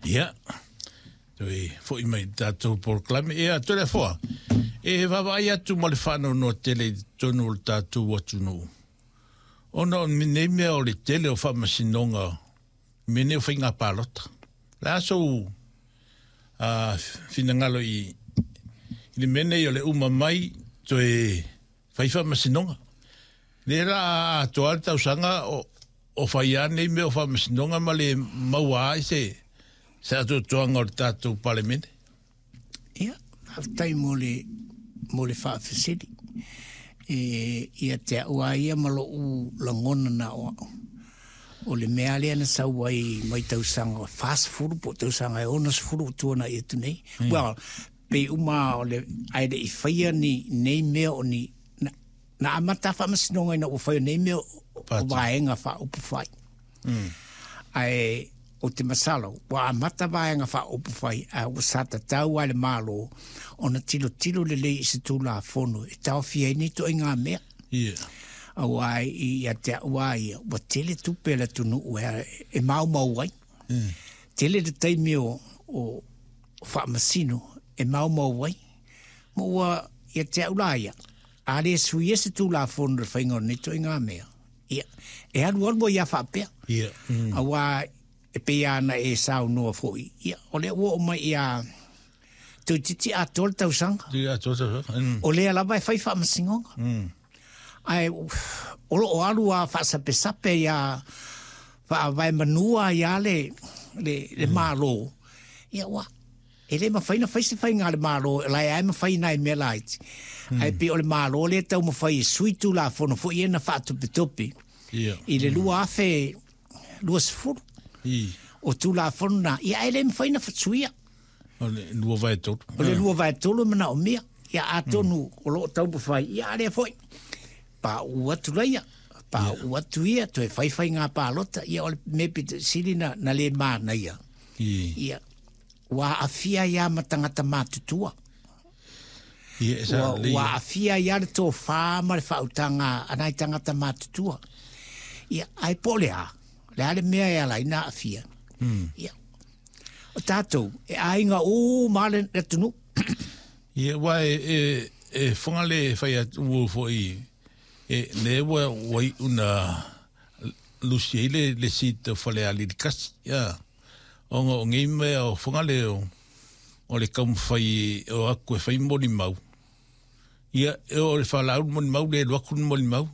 Ia, toe fo'i mai i le tatou polokalame. Ia, Toleafoa, e vaavaai atu ma le faanoanoa tele i totonu o le tatou atunuu, ona o nei mea o le tele o faamasinoga, mea nei o faiga palota. O le a sou finagalo i le mea nei o le uma mai toe fai faamasinoga? Lea la atoa le tausaga o fai lava nei mea o faamasinoga ma le maua ai se atoatoaga o le tatou Palemene. Ia, faafetai mo le faafesili. E ia te au lava ia ma lou lagona na o au. O le mea lea na sau ai mai tausaga 40 po o tausaga e 60 ua tuanai atu nei. Well, pei uma o le ae le i faia ni nei mea o ni na amata faamasinoga ina ua fai o nei mea o vaega faaupufai. Ae o te masalo, ua amata vaega faaupufai, ae ua sa tatau lava le Malo ona tilotilo lelei i se Tulafono e taofia ai nei ituaiga mea. Aua ia te au lava ia, ua tele tupe a le atunuu e maumau ai. Tele le taimi o faamasino e maumau ai. Ma ua ia te au la ia, a le suia se Tulafono i le faiga o nei ituaiga mea, ia, e alualu ai lava faapea. Aua e pei lava ona e saunoa foi, ia, o lea ua oo mai ia toeitiiti atoa le tausaga. Toeitiiti atoa le tausaga. O lea lava e fai faamasinoga. Ae o lo o alu lava faasapesape ia faavaemanua ai lava le Malo, ia ua e le mafai ona fai se faiga a le Malo, o la e lava e mafai nai mea laiti. Ae pei o le Malo lea e taumafai e sui Tulafono foi ia na faatopetope i le 2020. O Tulafono na, ia ae le mafai ona suia. O le 2/3. O le 2/3 e manaomia. Ia atonu o lo o taumafai, ia a lea foi, pauu atu laia, pauu atu ia, toe fai faiga palota, ia o le mea pito sili na le manaia. Ia, ua aafia ai lava ma tagata matutua. Ia, e sa Ua aafia ai lava le tofa ma le faautaga a nai tagata matutua. Ia, ae po o le a, le a le mea e ala ai ona aafia. Ia, o tatou, e aiga uma lava le atunuu. Ia, aua e Fogale e fai atu ua foi, e, lea ua iu na lusi ai le seat o Falealili 1. Ia, ona o nei mea o Fogale o le taumafai o atu e fai molimau. Ia, e o le faalaau le molimau, le alu atu le molimau.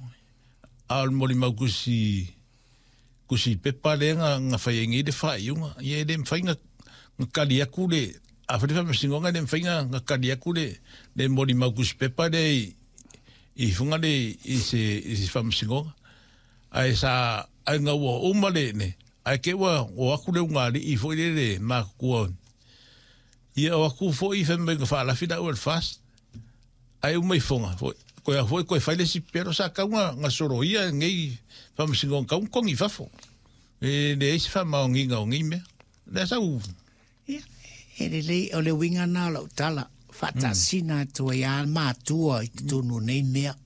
A o le molimau tusi pepa lea na fai ai nei le faaiuga. Ia e le mafai na tali atu le, a fai le faamasinoga e le mafai na tali atu le molimau tusi pepa lea i Fogale i se faamasinoga. Ae sa, ae na ua uma le, ne, ae te ua o atu le ugaalii foi lele matutua. Ia o atu foi fai mai na faalafi lau e le FAST. Ae uma i Foga foi, koe a foi koe fai le isi pepelo sa tau na soloia nei faamasinoga tau na togi i fafo. E leai se faamaoniga o nei mea. Lea sau. Ia, e lelei, o le uiga lena o lau tala, faatasina atu ai lava matua i totonu o nei mea,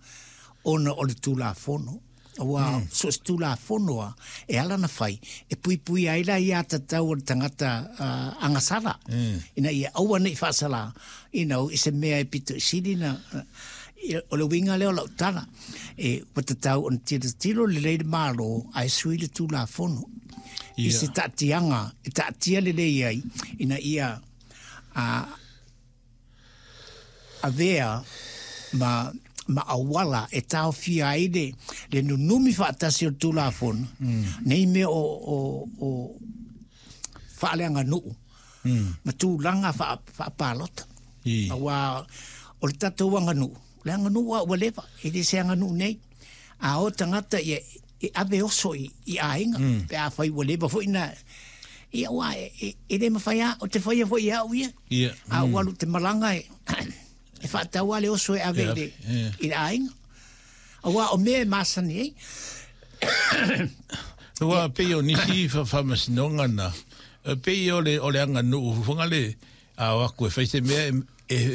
ona o le Tulafono. Aua so o se Tulafono lava, e ala ona fai, e puipuia ai le aiatatau a le tagata agasala, ina ia aua ne i faasala, you know, i se mea e pito i sili na, o le uiga lea o lau tala, e, ua tatau ona tilotilo lelei le Malo ae sui le Tulafono i se taatiaga e taatia lelei ai ina ia avea ma auala e taofia ai le nunumi faatasi o le Tulafono, nei mea o faaleaganuu ma tulaga faapalota. Aua o le tatou aganuu, o le aganuu lava ua leva, e le se aganuu nei. A o tagata ia e ave oso i aiga, pe afai ua leva foi na, ia aua e le mafai lava, ou te faia foi e au ia. A ou alu ou te malaga e faatau lava le oso e ave i le aiga. Aua o mea e masani ai. Aua pei o nisi faamasinoga na, pei o le aganuu foi le a o atu e fai se mea e